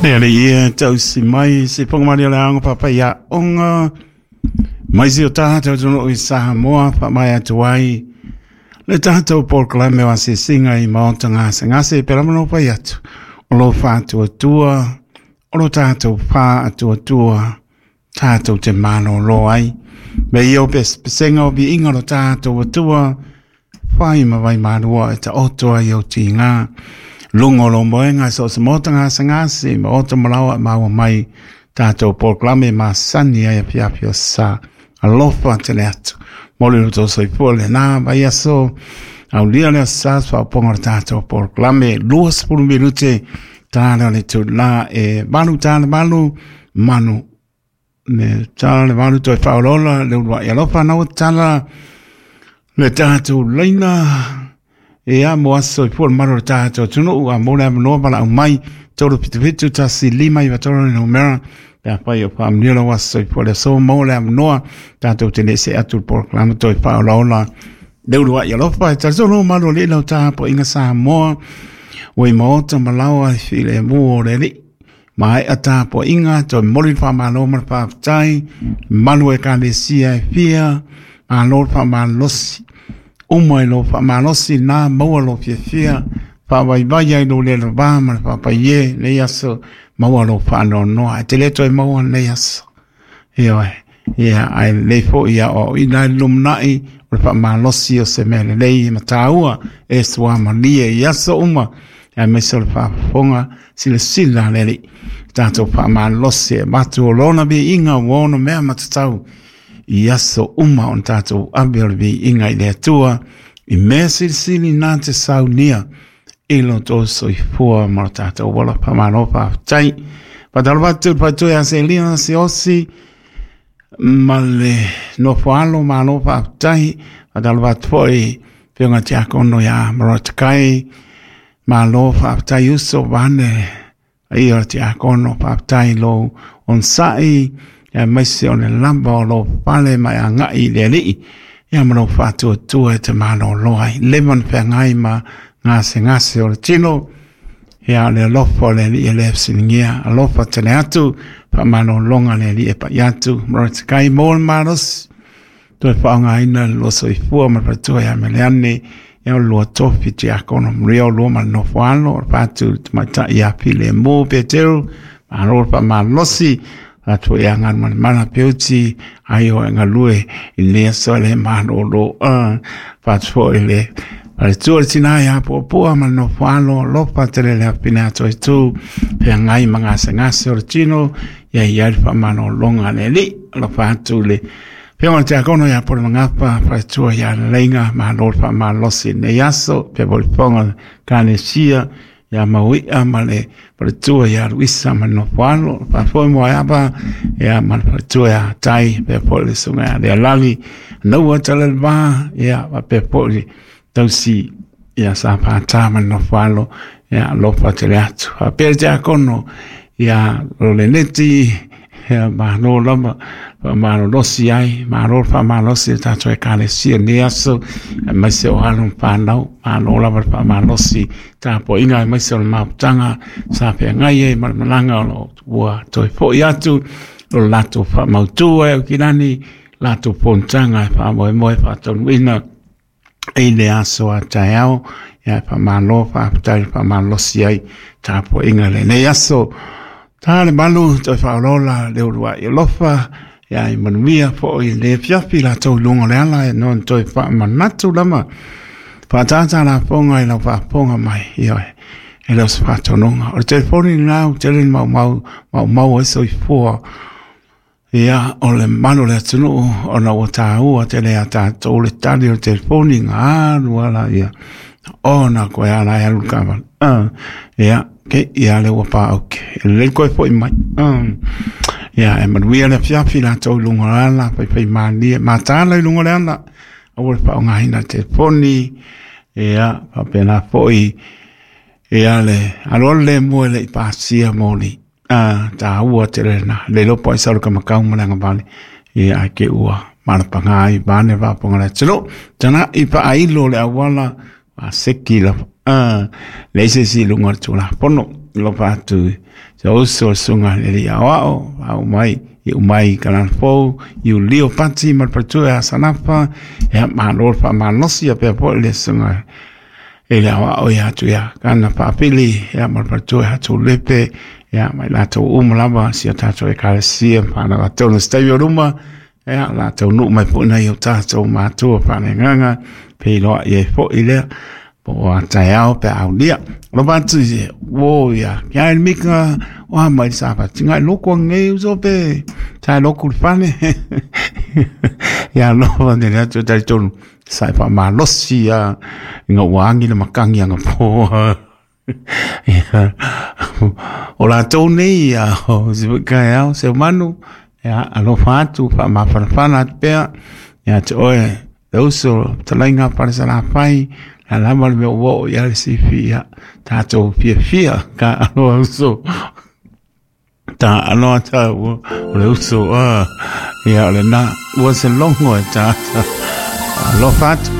Le alii ia tausi mai se foga o le aoga faafaiaoga mai si o tatou atunuu i Samoa faamaea atu ai le tatou polokalame o asiasiga i maota gasegase pe lava na fai atu o lo faatuatua o lo tatou faatuatua tatou te malolo ai. Me ia o pesega o viiga o lo tatou Atua fai ma vai malua e taoto ai o tiga. Luga o lo moega so o se maota gasegase maota malaoa e maua mai tatou polokalame masani ai afiafi o sa. Alofa tele atu. Mo le lo soifua lena vaiaso. Aulia le aso sa faaopoga o le tatou polokalame 20 minute tala o le itula e 8:08 manu le tala le 8 toe faaolola le uluai alofa na ua tala le tatou laina e a mo aso soifua le malu o le tatou atunuu a mo le avanoa valaau mai 377 159 le numera pe afai o faamanuia lau aso soifua le aso mo le avanoa tatou te le se atu le polokalame toe faaolaola le uluai alofa e talitonu malu o alii lau tapuaiga Samoa ua i maota ma laoa i filemu o le alii. Maea tapuaiga toe momoli le faamalo ma le faafetai malu ekalesia e fia malo le faamalosi uma i lo faamalosi na maua lo fiafia faavaivai ai lo le lava ma le faapaie lenei aso maua lo faanoanoa e te le toe maua lenei aso. Ioe, ia ai lelei foi ia aoaoina ai le lumanai o le faamalosi o se mea lelei ma taua e suamalie i aso uma aemaise o le faafofoga silasila a le Alii tatou faamalosi e avatu o lona viiga ua ono mea matatau i aso uma ona tatou ave o le viiga i le Atua i mea silisili na te saunia i lo outou soifua ma lo tatou ola. Faamalo faafetai. Faatalofa atu i le faletua ia Selina Siaosi ma le nofo alo, malo faafetai. Faatalofa atu foi i Afioga Tiakono ia Marotakai, malo faafetai uso vaeane paia o le Tiakono, faafetai lou onosai aemaise o le lava o lou fale ma e agai i le Alii ia ma lou faatuatua e te malolo ai. Leva ona feagai ma gasegase o le tino, ia o le alofa o le Alii e le fesiligia, alofa tele atu, faamalologa le Alii e pai atu, Marotakai mo le malosi, toe faaaogaina le lua soifua ma le faletua ia Meleane, ia o le lua tofi tiakono manuia o lua ma le nofo alo, o le faatu i le tamaitai ia Filemu Peteru, malo le faamalosi, atu ia Galumalemana Peuti, ai o e galue i lenei aso le malolo, faatu foi le faletua le tina ia Puapua ma le nofo alo, alofa tele le afine atoa i tu, feagai ma gasegase o le tino, ia i ai le faamalologa a le Alii, alofa atu le Afioga i le Tiakono ia Pule Magapa, faletua ia Leiga, malo le faamalosi i lenei aso, pea foi le fofoga o le Ekalesia ia Mauia ma le faletua ia Luisa ma le nofo alo, faafoe Moeava ia ma le faletua ia Tai, pea foi le susuga ia Lealali, Naua Taleleva, ia faapea foi le tausi ia Safata ma le nofo alo, ia alofa tele atu. Faapea le Tiakono ia Loleneti, ia malo lava faamalolosi ai, malo le faamalosi i le tatou ekalesia i lenei aso, aemaise o alo ma fanau, malo lava le faamalosi tapuaiga aemaise o le mafutaga sa feagai ai ma le malaga o lo ua toe foi atu o le latou faamautu ai o kilani latou fonotaga e faamoemoe faataunuuina i le aso a taeao. Ia faamalo faafetai le faamalosi ai tapuaiga i lenei aso. Ta le malu toe faaolola le uluai alofa ia i manuia foi le afiafi latou i luga o le ala e no toe faamanatu lava faatata lafoga i lau faafofoga mai ioe e le o se faatonuga. O le telefoni lena ua tele ni maumau maumau ai soifua ia o le malu o le atunuu ona ua taua tele ia tatou le tali o le telefoni ga alu ala ia ona koe ala e alu le taavale. Ia ke ia le ua paauke e lelei koe foi mai. Ia e manuia le afiafi latou i luga o le ala faifai malie mataala i luga o le ala aua le faaaogaina le telefoni ia faapena foi ia le alualu le mua e le i pasia moli. Taua tele lena le iloa po o ai sau le kamakau ma le agavale ia ae ke ua malapaga ai vaeane le faafofoga a le atunuu. Tagai faailo le auala faseki lava leai se isi i luga o le Tulafono. Alofa atu si ou uso le susuga i le alii aoao, faauu mai iu mai i Kalanafou, Iulio Pati ma le faletua ia Sanafa, ia malo le faamalosi faapea foi le susuga i le aoao ia Tuiakana Faapili, ia ma le faletua ia Tulepe, ia ma i latou uma lava si o tatou ekalesia ma fanau atonu se taimi o luma, ia o le a taunuu mai foi nai o tatou matua faaleagaga, feiloai ai foi lea po o a taeao pe a aulia. Alofa atu i o ia ke ai mika o a mai sa fa tinga loko nge uso pe sai loku le fale. Ia alofa ne le atu tai tonu sai fa malosi ia nga ua angi le makangi anga po. Ia o latou nei ia o se kai au se manu ia alofa atu fa mafanafana atu pea ia te oe le uso talainga Falesalafai la lava le mea ua oo i ai le sifi ia tatou fiafia ka aloa uso ta aloa ta ua o le uso a ia o lena ua se logo e tata alofa atu.